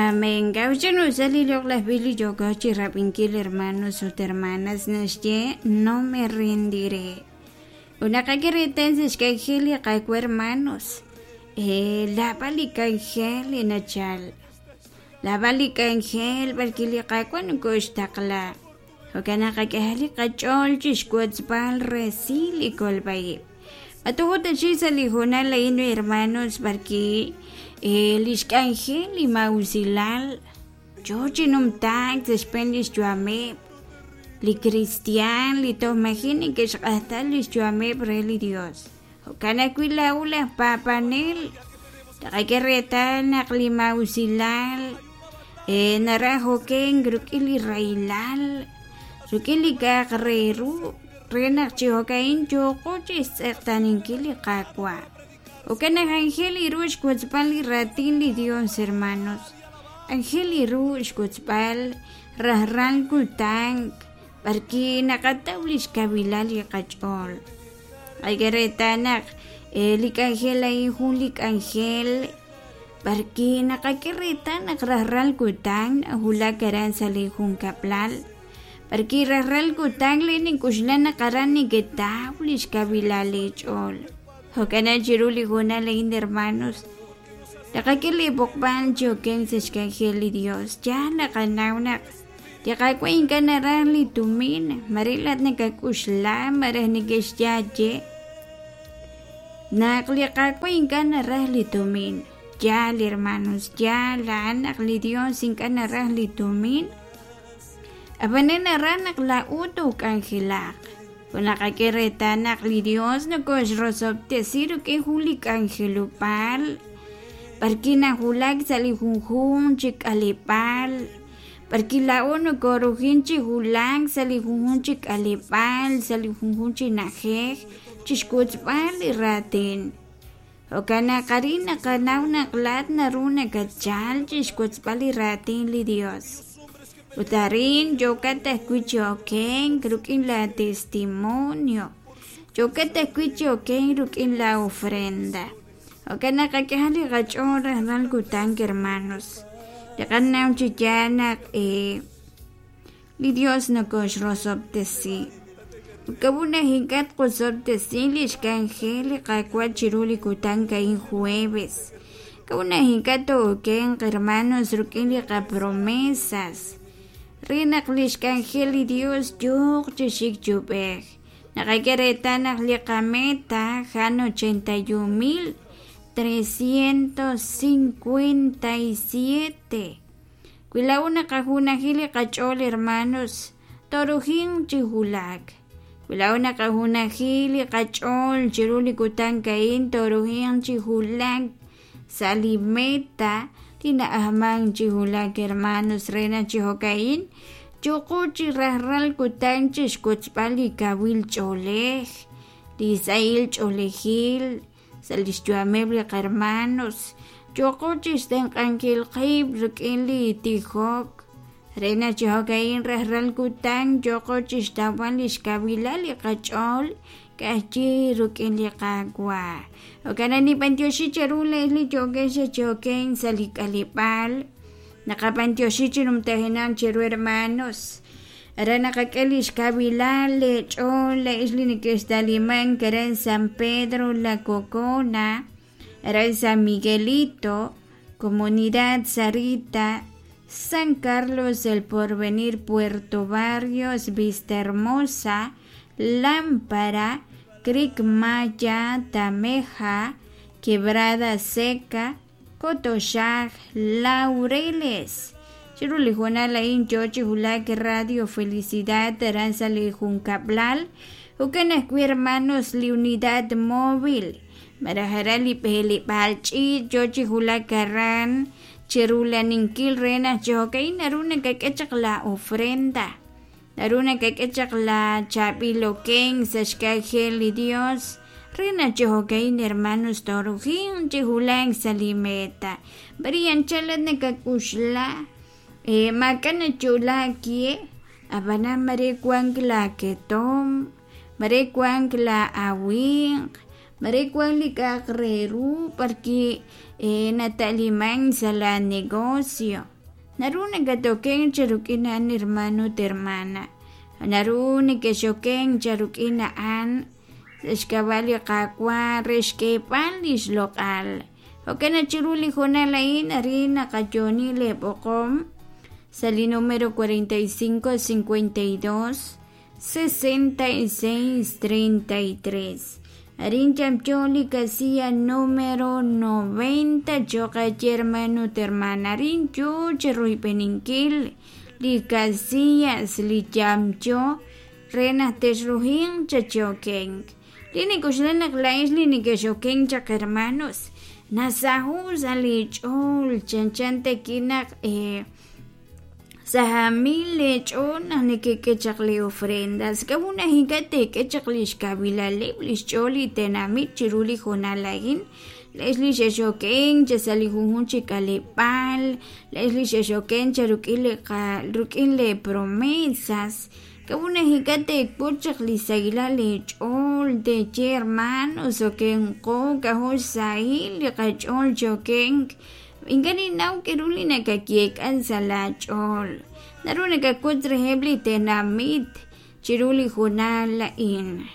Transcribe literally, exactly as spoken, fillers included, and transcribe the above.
Amén. Gaucheno sali loq'laj Biblia yooko chi rab'inkil hermanos ut hermanas naxye no me rendiré. Ut naqak'e reetal sa' xk'anjel li Qaawa' hermanos, eh, laab'al li k'anjel li nachal. Laab'al li k'anjel b'arki li Qaawa' nokoxtaqla. Jo'kan naq qak'ehaq li qach'ool chixwotzb'al resil li kolb'a-ib'. Matuju ta chi sa' li hoonal a'in hermanos b'arki eh, lix k'anjel li mawusilal yoo chi numtaak sa' xb'een lix yu'ameb' li cristian li toj maji' neke'xq'ajta lix yu'ameb' re li Dios. Jo'kan ajwi' laa'u laj paab'anel taqak'e reetal naq li mawusilal eh, naraj okenk rik'in li rahilal rik'in li k'a'aq re ru re naq chi jo'ka'in yooqo chixtz'eqtaaninkil li Qaawa'. Jo'kan naq anjel ru xwotzb'al li raatin li Dios hermanos. Anjel ru xwotzb'al rajlal kutan b'arki naqataw lix kawilal li qach'ool. Qak'e reetal naq eh, li k'anjel a'in jun li k'anjel b'arki naqak'e reetal naq rajlal kutan najulak aran sa' li junkab'lal. B'arki rajlal kutan li nink'uxla naq aran neketaw lix kawilal li ch'ool. Jo'kan chiru li hoonal a'in hermanos, naqak'e li b'oqb'al chi okenk sa' xk'anjel li Dios. Yaal naqanaw naq li Qaawa' ink'a' naraj li tumin, mare laat nakak'uxla malaj neke'xyaye. Naq li Qaawa' ink'a' naraj li tumin. Yaal hermanos, yaal a'an naq li Dios ink'a' naraj li tumin. Ab'anan naraj naq laa'u took'anjelaq. Ut naqak'e reetal naq li Dios nokoxrosob'tesi rik'in jun li k'anjelob'aal b'arki najulak sa' li junjunq chi k'aleb'aal, b'arki laa'o nokorujin chi julak sa' li junjunq chi k'aleb'aal, sa' li junjunq chi na'ajej, chixwotzb'al li raatin. Jo'kan naq arin naqanaw naq laat naru nakachal chixwotzb'al li raatin li Dios. Ut arin yookat ajwi' chi okenk rik'in la testimonio, yookat ajwi' chi okenk rik'in la ofrenda. Jo'kan naq qak'ehaq li qach'ool rajlal kutan hermanos. Naqanaw chi yaal naq eh, li Dios nokoxrosob'tesi. Kawuna ink'a' tqosob'tesi lix k'anjel li Qaawa' chiru li kutan a'in jueves. Kawuna ink'a' tookenq hermanos rik'in li qapromesas. Re naq lix k'anjel li Dios yooq chi xik chub'ej. Naqak'e reetal naq li qameta jan ochenta y un mil trescientos cincuenta y siete. Wi laa'u naqajunajil li qach'ool hermanos torujin chi julak. Wi laa'u naqajunajil li qach'ool chiru li kutan a'in torujin chi julak sa' li meta li na'ajman chi julak hermanos re naq chi jo'ka'in yooqo chi rajlal kutan chixwotzb'al li kawil ch'oolej, li sahil ch'oolejil sa' lix yu'ameb' li qarmanos, yooqo chixtenq'ankil qib' rik'in li tijok re naq chi jo'ka'in rajlal kutan yooqo chixtawb'al lix kawilal li qach'ool k'ajchi rik'in li Qaawa'. Jo'kan naq nib'antioxi cheru le'ej li yookex chi okenk sa' li k'aleb'aal. Naqab'antioxi chi numtajenaq cheru hermanos. Aran naqak'e lix kawilal lech'ool le'ej li neke'xtalimank aran San Pedro La Cocona, aran San Miguelito, Comunidad Sarita, San Carlos El Porvenir, Puerto Barrios, Vista Hermosa, Lámpara, Creek Maya, Tameja, Quebrada Seca, Cotoxaj, Laureles. Chiru li hoonal a'in yoo chi julak Radio Felicidad aran sa' li junkab'lal. Jo'kan ajwi' hermanos li unidad móvil. Malaj aran li b'eleb'aal ch'iich' yoo chi julak aran chirulaninkil re naq chi jo'ka'in naru nakak'e chaq la ofrenda. Naru nakak'e chaq la chaab'il okenk sa' xk'anjel li Dios re naq chi jo'ka'in hermanos torujin chi julak sa' li meta. B'ari anchal nakak'uxla, eh, maak'a' nachulaak ye, ab'anan mare wank la ketom, mare wank la awinq, mare wank li k'a'aq re ru b'arki, eh, nata'liman sa' la negocio. Naru nakatoken cha rik'in a'an hermano ut hermana. Naru nekexoken cha rik'in a'an sa' xk'ab'a' li Qaawa' re xk'eeb'al li xloq'al. Jo'kan naq chiru li hoonal a'in arin naqayooni leeb'oqom sa' li número cuarenta y cinco cincuenta y dos sesenta y seis treinta y tres. Arin yamyo li casilla número noventa cho'q aye hermano ut hermana. Arin yo chi royb'eninkil li casillas li yamyo re naq texruhinq chachokenk. Li nik'oxla naq laa'ex li nekexokenk chaq hermanos nasaho' sa' li ch'ool chanchan takinaq eh, sahamil le ch'ool naq nekek'e chaq li ofrendas. K'a'ut naq ink'a' teek'e chaq li xkawilaleb' li xch'ool li tenamit chiru li hoonal a'in? Laa'ex li xexokenk cha sa' li junjunq chi k'aleb'aal, laa'ex li xexokenk cha rik'in li qa-, rik'in le promesas. K'a'ut naq ink'a' teek'ut chaq li sahilal li ch'ool teeye hermanos okenqo k'ajo' xsahil li qach'ool chokenk. Ink'a' ninnaw k'aru li nakayeek'an sa' laach'ool. Naru nakakut reheb' li tenamit chiru li hoonal a'in.